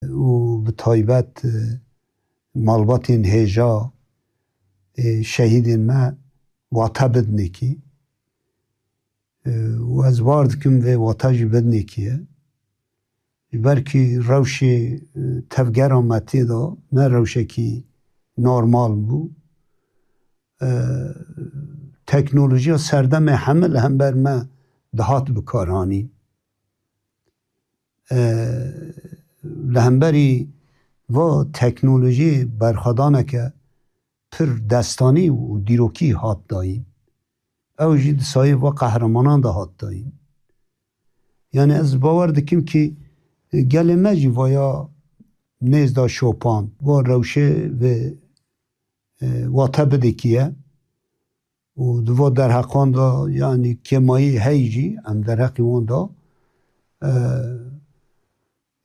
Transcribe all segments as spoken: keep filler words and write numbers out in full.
û bi taybet, e, malbatên hêja, e, şehîdên me wate bidinekî. E, û ez bar dikim vê wate jî bidinekî ye. Ji ber kî rewşê, e, tevgera me tê de ne rewşekî normal bû. E, teknolojiya serdemê heme li hember me dihat bikaranîn. E, li hemberî va teknolojiyê berxwedaneke pir destanî û dîrokî hat dayîn. Ew jî di sayê va qehremanan de hat dayîn. Yani ez bawer dikim kî, e, gelê me jî vaya nêz da şopan, va rewşê vê, e, wate bidekî ye. Û di va derheqan de, yani kêmayî hey jî, em derheqî wan de, e,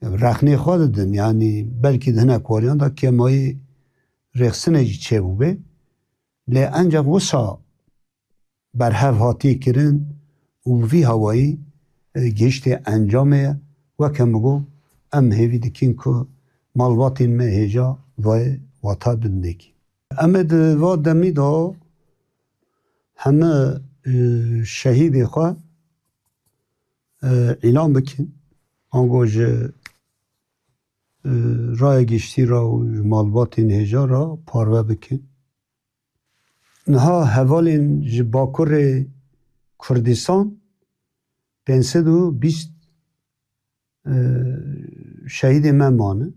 rexnê xwe didin. Yani belkî di hinek wariyan de kêmayî rêxistinê jî çêbûbê. Lê enceq wisa berhev hatiye kirin û bi vî hawayî, e, gihiştê encamê ye. Weke min got, em hêvî dikin ku malbatên me hêja vayê wata bidinekî. Em ê di va demî de heme, e, şehîdê xwe, e, îlan bikin. Ango ji, e, raya giştî re û ji malbatên hêja re parve bikin. Niha hevalên ji Bakurê Kurdistan pênc sed û bîst, e, şehîdê me mane.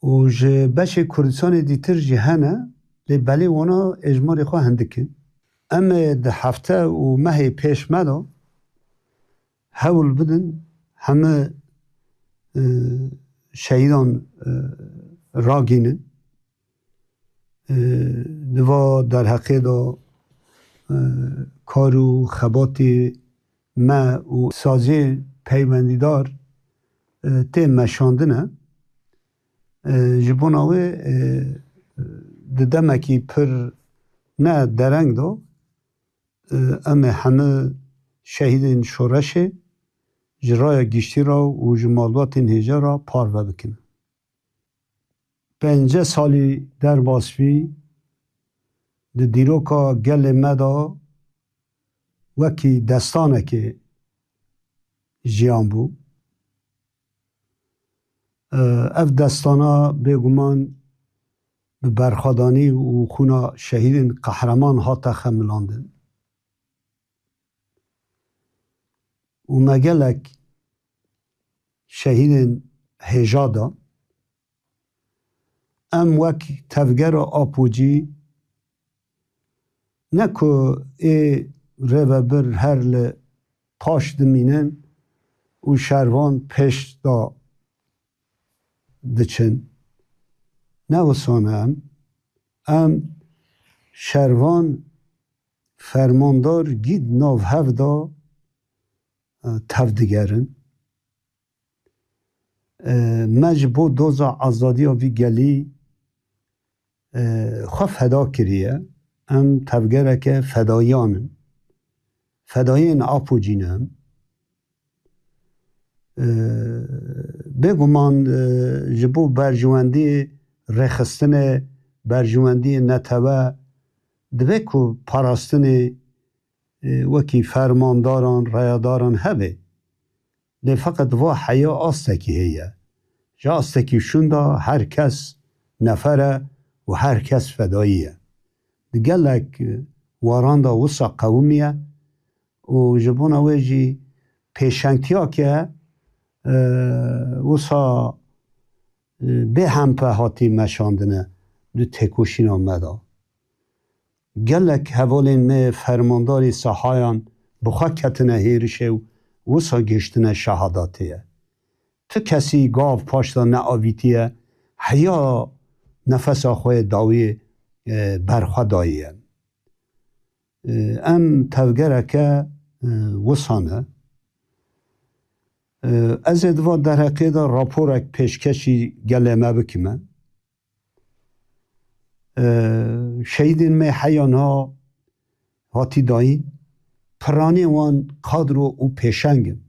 Û ji beşê Kurdistanê dîtir jî hene, lê belê wana êjmarê xwe hindik in. Em ê di hefte û mehê pêş me de hewl bidin heme, e, şehîdan, e, ragînin. E, di va derheqê de, e, kar û xebatê me û saziyê peywendîdar, e, tê meşandine. E, ji bona wê, e, di demekî pir ne dereng de, e, em ê hemî şehîdên şoreşê ji raya giştî re û ji malbatên hêja re parve bikin. Pêncî salî derbas bî, di dîroka gelê me de wekî destanekê jiyan bû. Ev destana bêguman bi berxwedanî û xûna şehîdên qehreman hate xemilandin. Û me gelek şehîdên hêja da. Em wek tevgera Apocî ne ku ê rêvebir her li paş dimînin û şervan pêş da diçin. Ne wisa ne em. Em şervan fermandar gîd nav hev da, e, tev digerin. E, me ji bo doza azadiya vî gelî, e, xwe feda kiriye. Em tevgereke fedayiyan in. Fedayiyên Apocî ne em. E, bêguman, e, ji bo berjewendiyê rêxistinê, berjewendiyê netewe, divê ku parastinê, e, wekî fermandaran, rayadaran hebe. Lê feqet va heya astekî heye. Ji astekî şûn de her kes nefer e û her kes fedayî ye. Di gelek, e, waran de wisa qewimiye û ji bona wê jî pêşengtiyake, e, wisa, e, bêhempe hatî meşandine di têkoşîna me de. Gelek hevalên me fermandarî sahayan bi xwe ketine hêrişê û wisa gihiştine şehadatê ye. Tu kesî gav paş de neavîtiye, heya nefesa xwe yê dawî, e, berxwe dayiye. E, em tevgereke, e, wisa ne. E, ez ê di van derheqê de raporek pêşkêşî gelê me bikime. E, şehîdên me heya niha hatî dayîn, piranî wan kadro û pêşeng in.